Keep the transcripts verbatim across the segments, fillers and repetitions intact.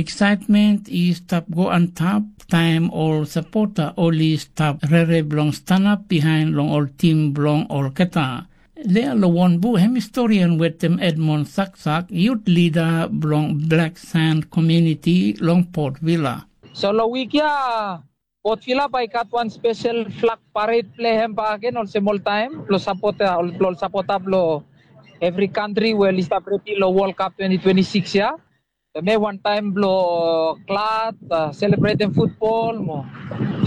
Eksaetmen i stap go antap taem ol sapota oli stap rere blong stanap biaen long ol tim blong olgeta. Lea long Wonbu, hemi storian wetem Edmond Saksak, yut lida blong Black Sand Komuniti long Port Vila. So long wik ya, Port Vila bae i gat wan spesel flag pared blong hem bakegen olsem oltaem blong sapota, blong sapota blong evri kantri we oli stap redi long World Cup twenty twenty-six ya. Hemia wantaem blong glad, selebretem futbol mo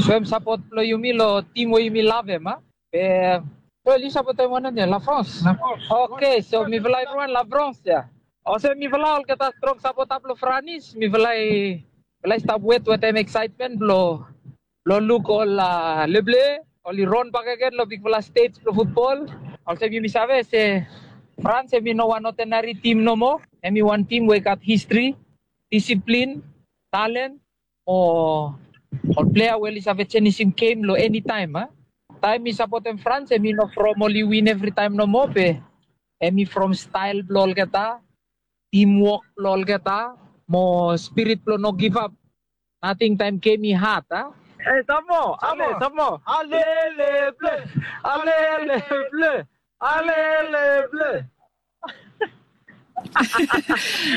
soem sapot blong yumi long tim we yumi lavem, a? Be, wel, yu sapotem wanem ya, La France? La France. Oke, so mifala evriwan La France ya. Olsem mifala olgeta strong sapota blong Franis, mifala i, mifala i stap wet wetem eksaetmen blong blong luk ol Le Bleus oli ron bakegen long bigfala stej blong futbol. Olsem yumi save se France hemi no wan odenari tim nomo. Hemi wan tim we i gat histri, disiplin, talen, mo ol plea we oli save jenisim gem long enitaem, a? Taem mi sapotem France, hemi no from oli win evritaem nomo, be hemi from stael blong olgeta, timwok blong olgeta, mo spirit blong no givap nating taem gem i had, a? E, sam moa, ale, sam moa. Ale Le Bleus, ale Le Bleus, ale Le Bleus.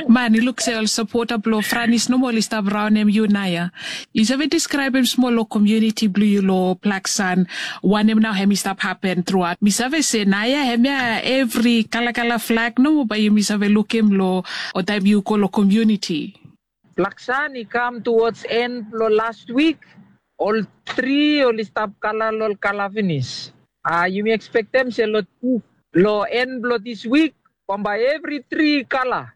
Man, yu luk se ol sapota blong Franis nomo oli stap raonem yu naoia. Yu save deskraebem smol long komuniti blong yu long Black Sand, wanem nao hemi stap hapen truaot? Mi save se naoia hemia evri kalakala flag nomo bae yumi save lukim long, o taem yu go long komuniti. Black Sand i kam towards end blong last week. Ol tri oli stap kala long ol kala finis. A, yumi ekspektem se long, long end blong this week, bambae evri tri i kala.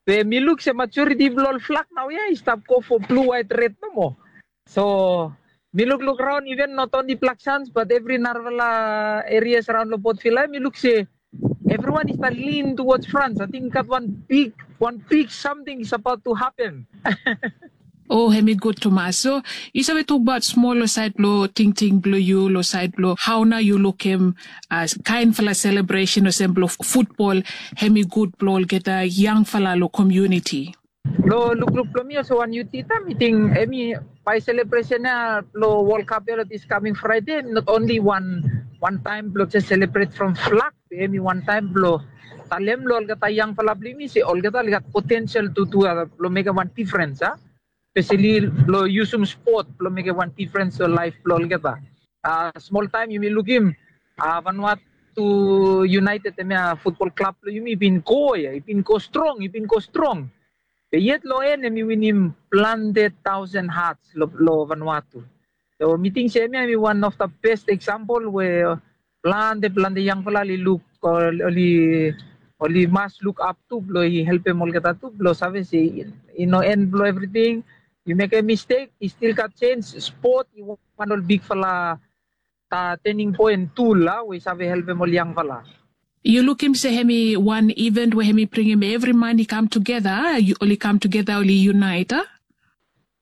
Be mi luk se majoriti blong ol flag naoia i stap go for blue, white, red nomo. So mi lukluk raon, even not only Black Sands but evri narafala erias raon long Port Vila, mi luk se evriwan i stap lean towards France. Ating i gat wan big, wan big samting is about to happen. O, hemi gud tumas. So yu save tokbaot smol long saed blong tingting blong yu, long saed blong hao nao yu lukim kaenfala selebresen olsem blong futbol, hemi gud blong olgeta yangfala long komuniti? Long lukluk blong mi olsem wan youth leader, mi ting hemi, bae selebresen ya blong World Cup ya long this coming Friday, not only wan, wan taem blong jes selebret from flag, be hemi wan taem blong talem long olgeta yangfala blong yumi se olgeta oli gat potensel tu, tu, a, blong mekem wan difrens, a? Speseli blong yusum spot blong mekem wan difrens long laef blong olgeta. A, smol taem yumi lukim, a, Vanuatu United, hemia futbol klab blong yumi, i bin go ya, i bin go strong, i bin go strong. Be yet long en hemi winim plante taosen hats long, long Vanuatu. So mi ting se hemia hemi wan of the best example we plante, plante yangfala oli luk, oli, oli mas luk ap tu blong i helpem olgeta tu blong save se i no en blong evriting. Yu mekem mistek, i stil gat jens. Spot i wan ol bigfala, a, turning point tool, a, we i save helpem ol yangfala. Yu lukim se hemi wan event we hemi bringim evri man i kam tugeta, a? Oli kam tugeta, oli unite, a?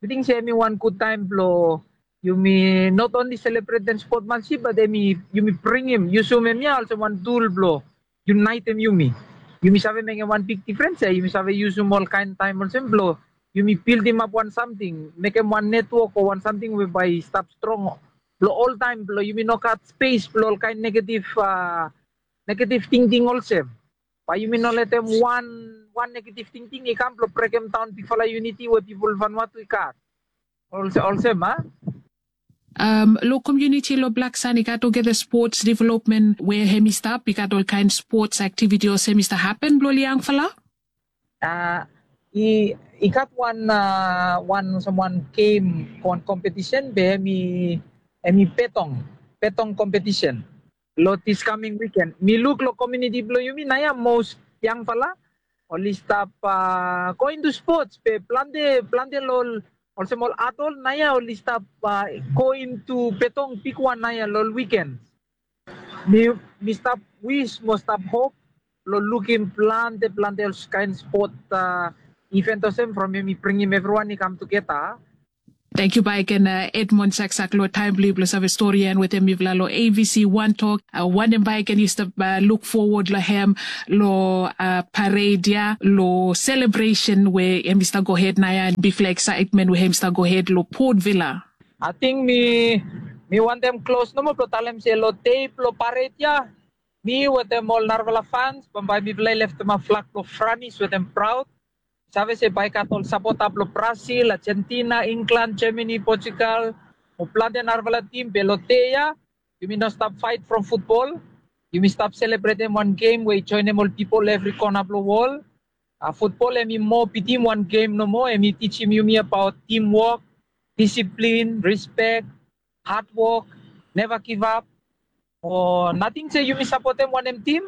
Mi ting se hemi wan gud taem blong yumi not only selebretem spotmansip, but hemi, yumi bringim, yusum hemia olsem wan tool blong unaetem yumi. Yumi save mekem wan big difrens ya. Yumi save yusum olkaen taem olsem blong yumi bildimap wan samting, mekem wan netwok o wan samting we bae i stap strong blong oltaem, blong yumi no gat spes blong olkaen negetif, a, negetif tingting olsem. Bae yumi no letem wan, wan negetif tingting i kam blong brekemdaon bigfala yuniti we pipol Vanuatu i gat. Olsem, olsem, a? Long komuniti long Black Sand i gat olgeta spots developmen we hemi stap, i gat olkaen spots aktiviti olsem i stap hapen blong ol yangfala? A, i, i gat wan, a, wan, olsem wan gem, wan kompetisen, be hemi, hemi betong, betong kompetisen. Long this coming weekend mi luk long komuniti blong yumi naoia, mos yangfala oli stap, a, go into spots, be plante, plante long ol, olsem ol adol naoia oli stap, a, go into betong bigwan naoia long ol weekend. Mi, mi stap wis mo stap hop long lukim plante, plante olkaen spot, a, event olsem from hemi bringim evriwan i kam tugeta. Tangkiu bae gen Edmond saksak long taem blong yu blong save storian wetem mifala long A B C One Tok. Wanem bae gen yu stap luk fowod long hem long pared ya, long selebresen we hem i stap gohed naoia, bigfala eksaetmen we hem i stap gohed long Port Vila? Ating mi mi wantem klos nomo blong talem se long dei blong pared ya, mi wetem ol narafala fans bambae mifala i leftemap flag blong Franis wetem praod. Save se bae i gat ol sapota blong Brasil, Argentina, Inglan, Germany, Portugal, mo plante narafala tim. Be long dei ya yumi no stap faet from futbol. Yumi stap selebretem wan gem we i joenem ol pipol evri kona blong wol. Futbol hem i moa bitim wan gem nomo. Hem i tijim yumi abaot timwok, disiplin, rispek, hadwok, neva givap. Mo nating se yumi sapotem wanem tim,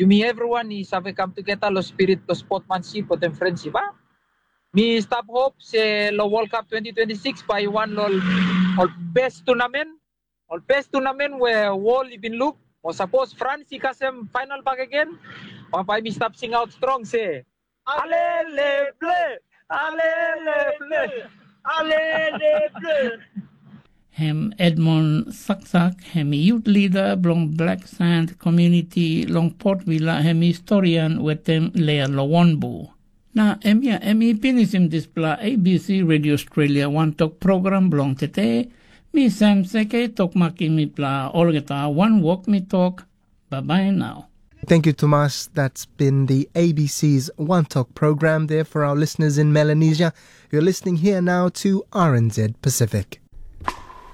yumi evriwan i save kam tugeta long spirit blong spotmansip wetem frensip a. Mi stap hop se long Wol Kap twenti twenti sikis bae i wan long ol bes tunamen, ol bes tunamen we wol i bin luk. Mo sapos Frans i kasem faenal bakegen, bambae mi stap singaot strong se, alele ble, alele ble, alele ble. Hem Edmond Saksak hem i yut lida blong Black Sand komuniti long Port Vila, hem i storian wetem Lea Lowonbu. Na hemia hem i pinisim dispela A B C Radio Australia wantok program blong tete. Mi Sam Seke tok makim mipela olgeta wanwok mi tok. Bye bye now. Thank you, Thomas. That's been the A B C's One Talk program there for our listeners in Melanesia. You're listening here now to R N Z Pacific.